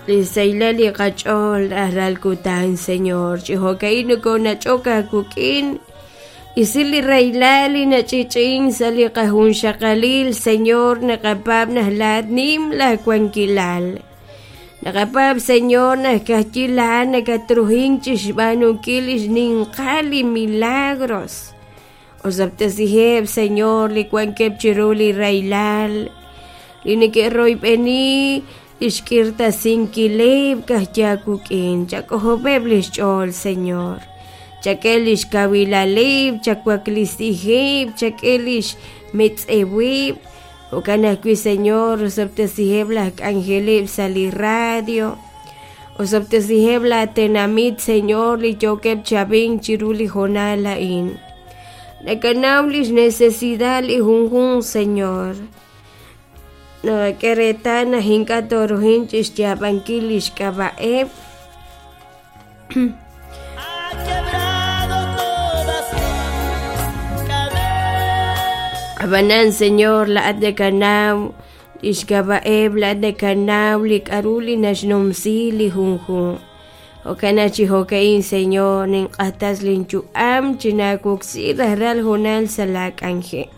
Li xsahilal li qach'ool rajlal kutan, Señor, chi jo'ka'in nokoonach'ok aawik'in. Isi li rahilal li nach'i'ch'i'ink sa' li qajunxaqalil, Señor, naqapaab' naq laa'at nim laawankilal. Naqapaab', Señor, naq ka'ajwi' laa'at nakatruhink chi xb'aanunkil li xninqal li milagros. Osob'tesiheb', Señor, li wankeb' chiru li rahilal, li neke'royb'eni li xk'irtasinkileb' ka'ajwi' aawik'in. Chak'ojob'eb' li xch'ool, Señor. Chak'e li xkawilaleb', chawaklisiheb', chak'e li xmetz'eweb'. Jo'kan ajwi', Señor, osob'tesiheb' laj k'anjeleb' sa' li radio. Osob'tesiheb' laatenamit, Señor, li yookeb' chi ab'ink chiru li hoonal a'in. Nakanaw lix necesidad li junjunq, Señor. Naqak'e reetal naq ink'a' tooruhin chixyaab'ankil lix k'ab'a'eb'. Ab'anan, Señor, laa'at nakanaw lix k'ab'a'eb', laa'at nakanaw li k'a'ru li naxnumsi li junjunq. Jo'kan naq chi jo'ka'in, Señor, ninq'axtas linyu'am chinaawoksi rajlal hoonal sa' laak'anjel.